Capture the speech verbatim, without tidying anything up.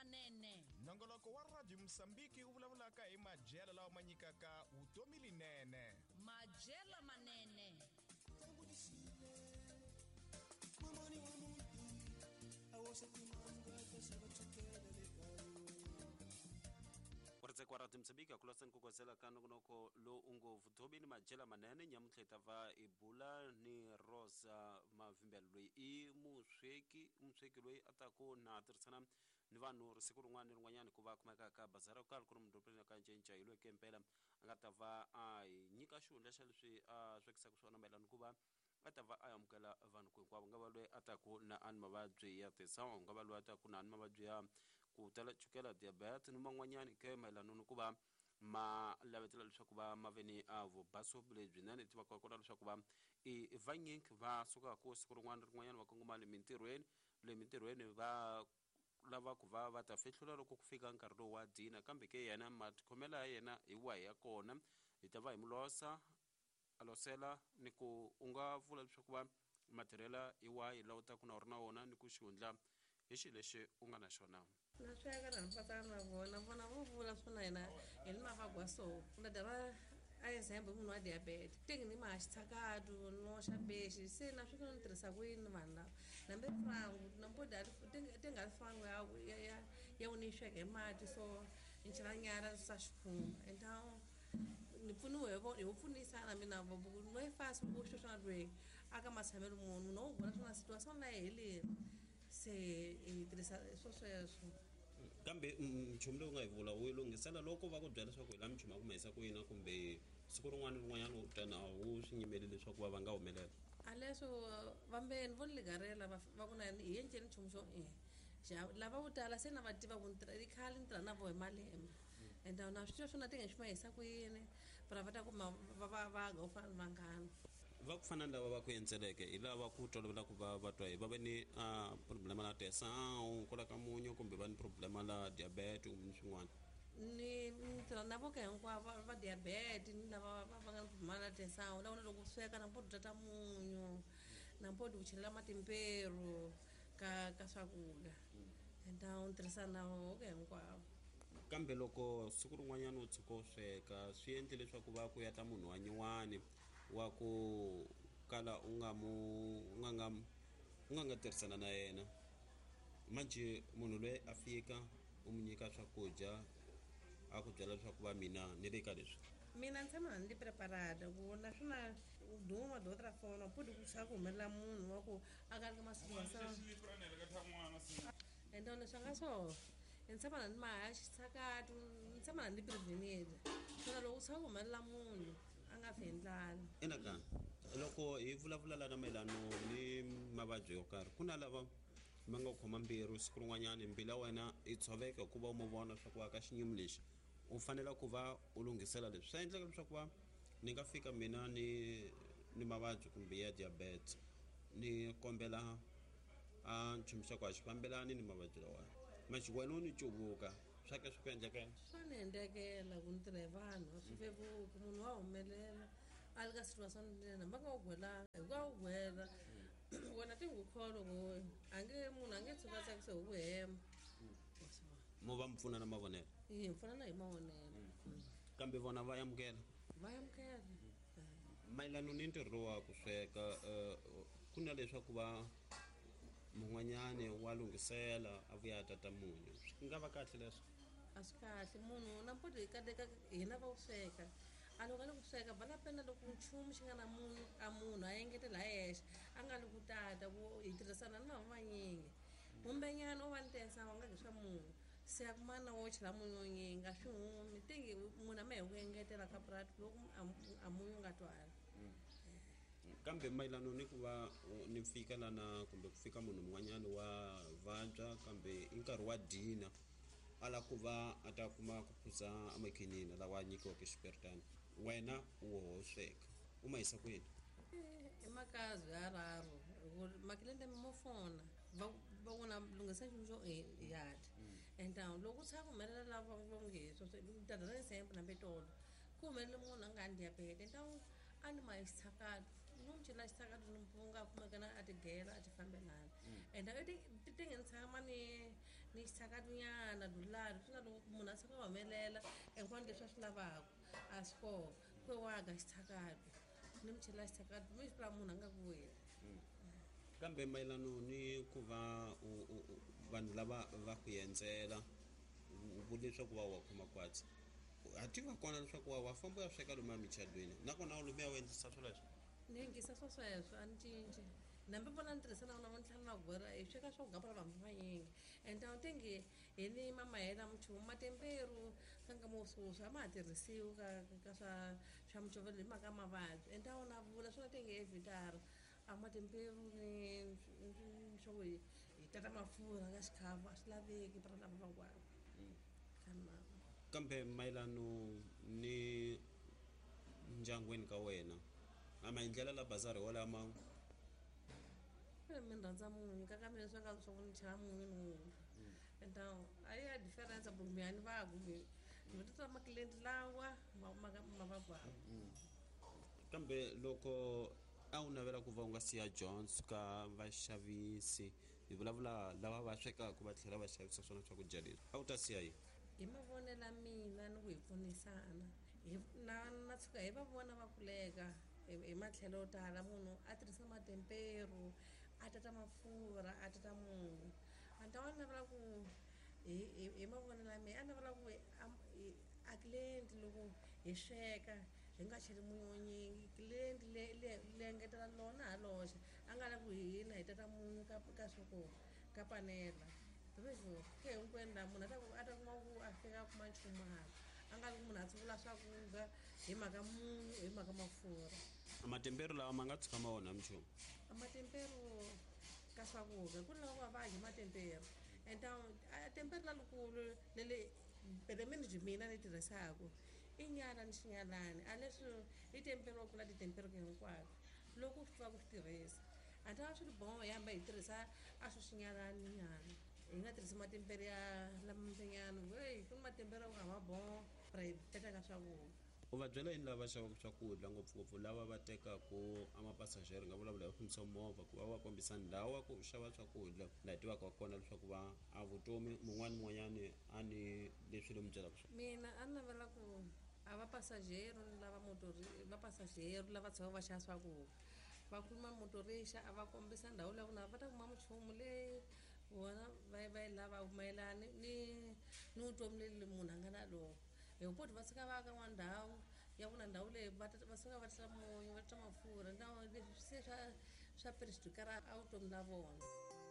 Manene. Nongoloko wa Radio Mosambiki wu vulavulaka hi madyelo lawa ma nyikaka vutomi linene. Madyelo manene. Kuretse kwa Radio Mosambiki akulasani kukozela ka nongonoko lowu u ngo vutomi ni madyelo manene. Nyamuntlha hi ta va hi bula ni Rosa Mavimbela loyi i musweki musweki loyi a taku na tirhisana ni vanhu siku rin'wana ni rin'wanyana ku va kumeka ka bazara yo karhi ku ri mudorobeni ka Ncinca hi loyi ke mpela a nga ta va a hi nyika xihundla xa leswi a swekisaka swona mayelana ku va a ta va a amukela vanhu ku hinkwavo, nga va loyi a taku na a ni mavabyi ya tisawu, nga va loyi a taku na ni mavabyi ya ku tala chukela, diabetes ni man'wanyani ke mayelana ni ku va ma lavetela leswaku va ma ve ni a vubaso lebyinene. Tivaka kona leswaku va i vanyingi va sukaka siku rin'wana rin'wanyana va kongoma le mintirhweni le mintirhweni va lava ku va va ta fihlula loko ku fika nkarhi lowu wa dina, kambe ke yena matikhomelo ya yena hi wahi ya kona hi ta va hi mulosa a losela ni ku u nga vula leswaku va matirhela hi wahi lawa u taku na u ri na wona ni ku xihundla hi xilo lexi u nga na xona. Na sweka na mpatana na vona vona vo vula swona yena hi ni mavagwa so na dara a example munhu wa diabetes tingi ni ma xitshakatu no xa bexi se na swi ni tirhisa ku yini vanhu lava nambe frangu na mpoda tinga frangu ya ya ya u ni sweka hi mati so ni chela nyara sa xikhumba então ni pfuniwe hi vo pfunisana mina vo no yi fasi ku xo swa lwe aka matshamelo munhu no vona swona situation na heleni se hi tirhisa swo sweswo. Kambe nchumu lowu nga hi vula wu lunghisela loko va ku byela leswaku hi la minchumu ya ku mahisa ku yina kumbe siku rin'wana ni rin'wanyana u tana wu swi nyimeli leswaku va va nga humelela a leswo vambeni vo ni ligarela va ku na hi enceni nchumu xo e lava vo tala se na va tiva ku ni khale ni tirha na vo hi malembe and na swi tiva swona ti nga xi mahisa ku yini va va ta kuma va va va ga u fana ni vanghana va ku fana ni lava va ku endzeleke hi lava ku tolovela ku va va twa hi va ve ni a problema la tesawu kwala ka munyu kumbe va ni problema la diabetes kumbe ni swin'wana. Ni ni tirha na voka hinkwavo va diabetes ni lava va nga ni problema la tesawu la vona loko sweka na mpoto tata munyu na mpoto ku chelela matimperu ka ka swakudya então ni tirhisa na voka hinkwavo. Kambe loko siku rin'wanyana u tshuka u sweka swi endle leswaku va ku ya ta munhu wa nyuwani wa ku kala u nga mu u nga nga u nga nga tirhisana na yena manje munhu loyi a fika u mu nyika swakudya a ku byela leswaku va mina ni le ka leswi mina ni tshama ni preparada ku naswona u duma de outra forma pode ku swa ku humelela munhu wa ku a ka ri ka masiku então leswi nga so ni tshama na ni maha xitshakatu ni tshama na ni prevenile swona loko u tshama ku humelela munhu a nga fi hi ndlala. Ina ka loko hi vulavula lana mayelano ni mavabyi yo karhi ku na lava ma nga khoma mbilu siku rin'wanyana mbilu ya wena yi tshoveka hikuva u mu vona leswaku ka xinyimi lexi u fanele ku va u lunghisela leswi swa endleka leswaku va ni nga fika mina ni ni mavabyi kumbe ya diabetes ni kombela a nchumu xa ku a xi fambelani ni mavabyi lawa manje wena u ni cuvuka swa ke swi ku endlekela swa ni endlekela ku ni tirha hi vanhu a swi vevuki munhu wa humelela a li ka situation lena va nga wu gwelanga hikuva wu gwela wena ti ngu kholo ku a nge munhu a nge tshuka a tsakise hi ku hema mo va mi pfuna na mavonelo hi pfunana hi mavonelo kambe vona va amukela va amukela. Mayelana ni ntirho wa ku sweka ku na leswaku va mun'wanyani wa lunghisela a vuya a tata munyu swi nga va kahle leswo a swi kahle munhu na mpoto hi kateka hina va ku sweka a loko a le ku sweka va la pena loko nchumu xi nga na munyu a munhu a engetela hi yexe a nga li ku tata ku hi tirhisana ni vanhu vanyingi kumbenyana u va ni tesa wa nga ki swa munhu se a kumana wo chela munyu wo nyingi a swi humi tingi munhu a ma hi ku engetela ka purati loko a munyu nga twali. Kambe mayelana ni ku va ni fika lana kumbe ku fika munhu mun'wanyana wa vabya kambe i nkarhi wa dina a lava ku va a ta kuma ku phuza amakhinini lawa nyikiwaka xiperitani wena u wo sweka u ma yisa kwini? I makazi ya raru makilende mo fona va va vona lunghisa nchumu xo yati então loko u tshama humelela lava va nge tata ra example nambe tolo ku humelele munhu a nga ni diabetes então a ni ma xitshakatu ni n'wi chela xitshakatu ni mpunga a kumekana a tigela a ti fambelana and ti ti nge ni tshama ni ni xitshakatunyana dulani swi na loko munhu a tshuka a humelela hinkwano leswi a swi lavaka a swi koho ku waga xitshakatu ni mi chela xitshakatu mi swi vula munhu a nga ku weli. Kambe mayelano ni ku va vanhu lava va ku endzela u vule leswaku va wa khoma kwatsi a tiva kona leswaku wa wa famba u ya sweka lomu emichadweni nakona u lomuya u endlisa swoleswo? Ni yingisa swa sweswo a ni cinci nambi vona ni tirhisa na vona vo ni tlhela na gwera hi sweka swa ku gapela vanhu vanyingi and a wu tenge hi ni mamahela minchumu matemperu ka nkama wo sweswi a ma ha tirhisiwi ka ka swa swa mucovelo hi mhaka mavabyi and a wu na vula swona tenge evhitara a matemperu ni swa ku hi hi tata mafurha ka xikhafu a swi laveki para lava van'wana. Kambe mayelano ni ndyangwini ka wena a maendlelo la bazari walama mi rhandza munyu ka ka mina swi nga swa ku ni chela munyu ni wun'we and a ya difference kumbe a ni va kumbe ni tata makilenti lawa ma ma va gwava. Kambe loko a wu navela ku va u nga siya Jones ka vaxavisi hi vulavula lava va swekaka va tlhela va xavisa swona swakudya leswi a wu ta siya yini? Hi mavonelo ya mina ni ku hi pfunisana hi na na tshuka hi va vona va kuleka hi matlhelo yo tala munhu a tirhisa matemperu a tata mafurha a tata munyu a ni ta va navela ku hi hi mavonelo ya mina a navela ku a client loko hi sweka hi nga cheli munyu wo nyingi client le le le engetela lona ha loxe a nga lavi ku hina hi tata munyu ka ka swa ku ka panela leswo ke hinkwenu laha munhu a ta ku a ta kuma ku a fika a kuma nchumu hala a nga vi ku munhu a tshungula swakudya hi mhaka munyu hi mhaka mafurha. Matemperu lawa ma nga tshuka ma onha minchumu? Matemperu ka swakudya ku ni lava va vadyi matemperu and a temperu lalukulu lele pelemeni byi mina ni tirhisaka i nyala ni xinyalani a leswi i tempero wa kula titemperu hinkwato loko u swi tiva ku swi tirhisa a ta swi ri boho hi hamba hi tirhisa a swi xinyalani nyana hi nga tirhisi matempere ya lamanyana hey ku ni matempere ya ku hava boho ra hi teka ka swakudya. U va byela yini lava xavaka swakudya ngopfungopfu lava va tekaku a mapasajeri nga vulavula hi fambisa movha ku va va kombisa ndhawu ya ku xava swakudya laha hi tivaka kona leswaku va a vutomi mun'wani mun'wanyani a ni leswi lomu byelaka swona? Mina a ni navela ku a va pasajero lava motori va pasajero lava tshamaka va xava swakudya va khuluma motorixa a va kombisa ndhawu leyi ku na va ta kuma minchumu leyi vona va va yi lavaka mayelana ni ni vutomi leli munhu a nga na lona hi ku va suka va ya ka n'wana ndhawu ya ku na ndhawu leyi va va suka va tisa munyu va tisa mafurha ndhawu leswi se swa swa perixikara a vutomi la vona.